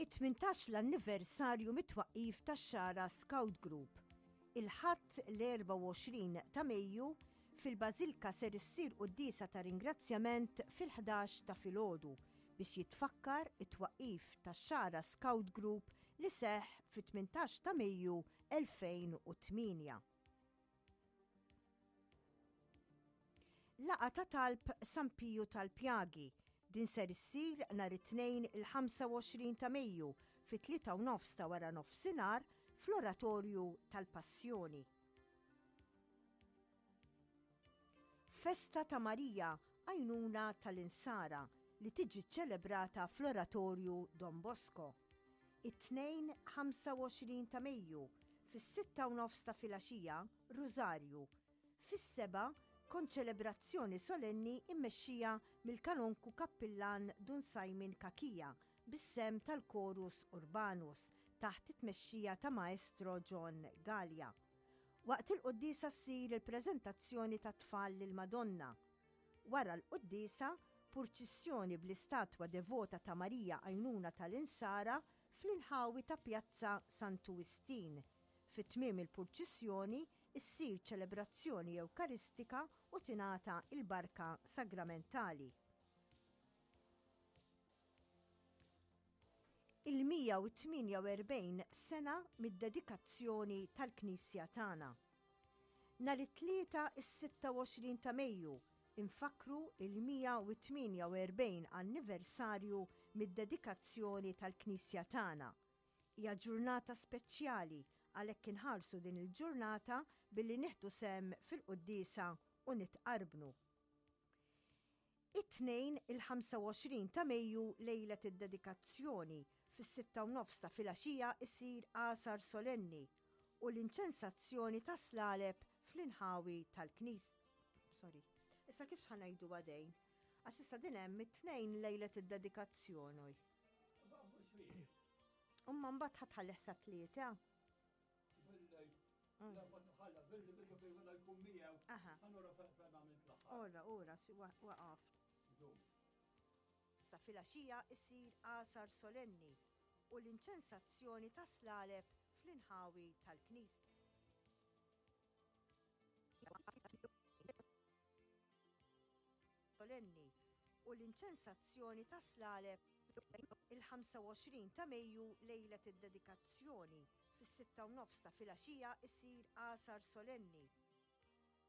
It-18 l-anniversarju mit-twaqqif tax-Xagħra Scout Group. Il-Ħadd l-24 ta' Mejju fil-Bażilka ser issir quddiesa ta' ringrazzjament fil-11 ta' filgħodu biex jitfakkar it-twaqqif tax-Xagħra Scout Group li seħħ fit-18 ta' Mejju 2008. Laqgħa ta' talb San Piju tal-Pjagi. Din ser issir nhar it-Tnejn il-25 ta' Mejju fit-tlieta u nofs ta' wara nofsinhar fl-Oratorju tal-Passjoni. Festa ta' Marija Għajnuna tal-Insara li tiġi ċċelebrata fl-Oratorju Don Bosco. It-Tnejn 25 ta' Mejju, fis-sitta u nofs ta' filgħaxija, Rużarju. Fis-sebgħa, konċelebrazzjoni solenni mmexxija mill-Kanonku Kappillan Dun Simon Cachia bis-sehem tal-Chorus Urbanus taħt it-tmexxija ta' Maestro John Galea. Waqt il-quddiesa ssir il-preżentazzjoni tat-tfal lill-Madonna. Wara l-quddiesa, purċissjoni bl-istatwa devota ta' Marija Għajnuna tal-Insara fl-inħawi ta' Pjazza Santu Wistin. Fi tmiem il-purċissjoni ssir ċelebrazzjoni Ewkaristika u tingħata l-Barka Sagramentali. Il-148 sena mid-dedikazzjoni tal-Knisja tagħna. Nhar it-Tlieta is-26 ta' Mejju infakkru il-148 anniversarju mid-dedikazzjoni tal-Knisja tagħna. Hija ġurnata speċjali għalhekk inħarsu din il-ġurnata billi nieħdu sehem fil-quddiesa u nitqarbnu. It-Tnejn, il-25 ta' Mejju, lejlet id-dedikazzjoni, fis-sitta u nofs ta' filgħaxija isir għasar solenni u l-inċensazzjoni ta' slaleb fl-inħawi tal-knis. Sorry. Issa kif ħa ngħidu għadejn? Għax issa din hemm it-Tnejn lejlet id-dedikazzjoni. Umma mbagħad ħa tħallih sa tlieta. Ora, ora, waqaf. Sa filgħaxija isir għasar solenni u l-inċensazzjoni ta' slaleb fl-inħawi tal-knis. Solenni u l-inċensazzjoni ta' slaleb il-25 ta' Mejju lejlet id-dedikazzjoni fis-sitta u nofs ta' filgħaxija isir għasar solenni.